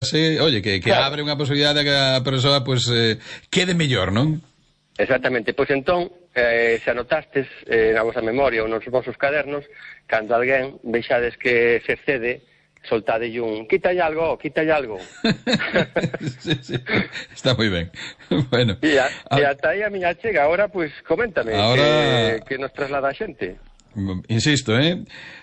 Sí, oye, que Claro. abre unha posibilidade de que a persoa pues, quede mellor, non? Exactamente. Pois entón, se anotastes na vosa memoria ou nos vosos cadernos, cando alguén vexades que se excede, soltadelle un quítalle algo, quítalle algo. Sí, sí, está moi ben. Bueno, E ata aí a miña chega. Agora, pois, coméntame ahora que nos traslada a xente. insisto,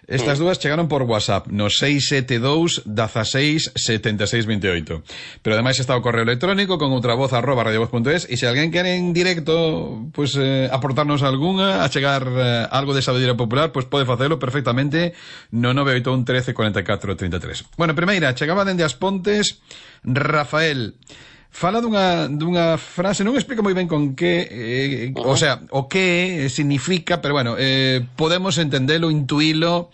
estas dúas chegaron por WhatsApp no 672 16 76 28. Pero ademais está o correo electrónico con outra voz @radiovoz.es, e se alguén quere en directo pues aportarnos algunha, achegar algo de sabedoria popular, pues pode facelo perfectamente no 981 13 44 33. Bueno, primeira, chegaba dende As Pontes Rafael. Fala dunha frase, non explica moi ben con que, o sea, o que significa, pero bueno, podemos entendelo, intuílo.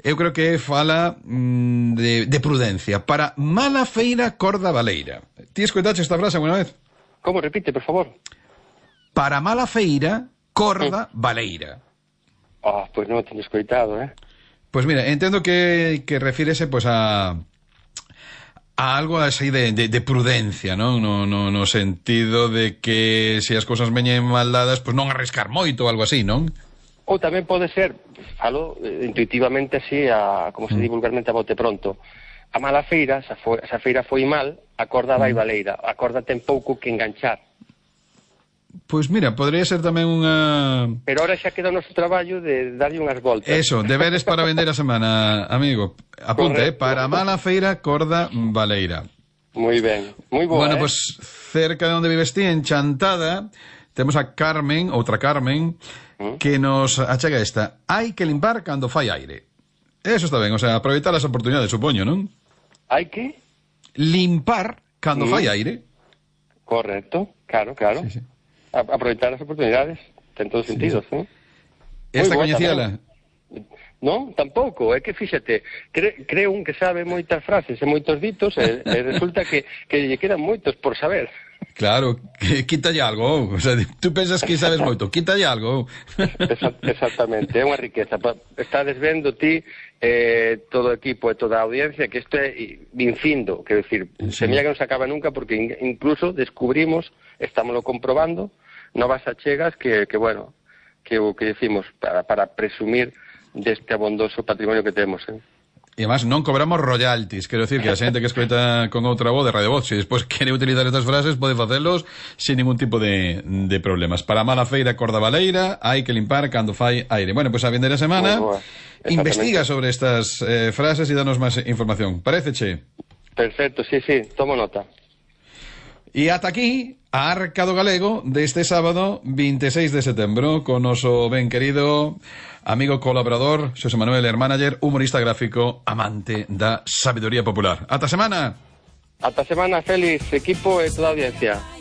Eu creo que fala de prudencia. Para mala feira, corda baleira. Ti escoitaste esta frase alguna vez? Como? Repite, por favor. Para mala feira, corda baleira. Pois non o teño escoitado, Pues mira, entendo que refírese pues a algo así de prudencia, ¿no? No sentido de que se as cousas veñen mal dadas, pues non arriscar moito ou algo así, non? Ou tamén pode ser, falo intuitivamente así, como se di vulgarmente a bote pronto, a mala feira, se a feira foi mal, a corda vai baleira, a corda ten pouco que enganchar. Pois mira, podría ser tamén unha... Pero ahora xa queda o noso traballo de darlle unhas voltas. Eso, deberes para vender a semana, amigo. Apunta, para mala feira, corda baleira. Moi ben, moi boa, Bueno, pues cerca de onde vives ti, en Chantada, temos a Carmen, outra Carmen, que nos achega esta. Hai que limpar cando fai aire. Eso está ben, o sea, aproveitar as oportunidades, supoño, non? Hai que? Limpar cando fai aire. Correcto, claro. Sí, sí. Aproveitar as oportunidades, ten todos sentidos, non? Esta Moi boa coñecíala? Non, tampouco, é que fíxate, creo un que sabe moitas frases e moitos ditos e resulta que lle quedan moitos por saber. Claro, quítalle algo, o sea, tú pensas que sabes moito, quítalle algo. Exactamente, é unha riqueza. Estades vendo ti, todo o equipo e toda a audiencia, que isto é infindo, quero dicir, semilla que non se acaba nunca, porque incluso descubrimos, estámoslo comprobando, novas achegas que bueno, que o que decimos, para presumir deste abondoso patrimonio que temos, E además non cobramos royalties, quero decir que a xente que escoita con outra voz de Radio Voz, se despois quere utilizar estas frases, pode facelos sin ningún tipo de problemas. Para mala feira, corda baleira, hai que limpar cando fai aire. Bueno, pues a vindeira semana investiga sobre estas frases e danos máis información. Paréceche? Perfecto, sí, tomo nota. E ata aquí a Arca do Galego deste sábado 26 de setembro con noso ben querido amigo colaborador Xosé Manuel Hermánager, humorista gráfico, amante da sabiduría popular. Ata semana. Ata semana, Félix, equipo e toda a audiencia.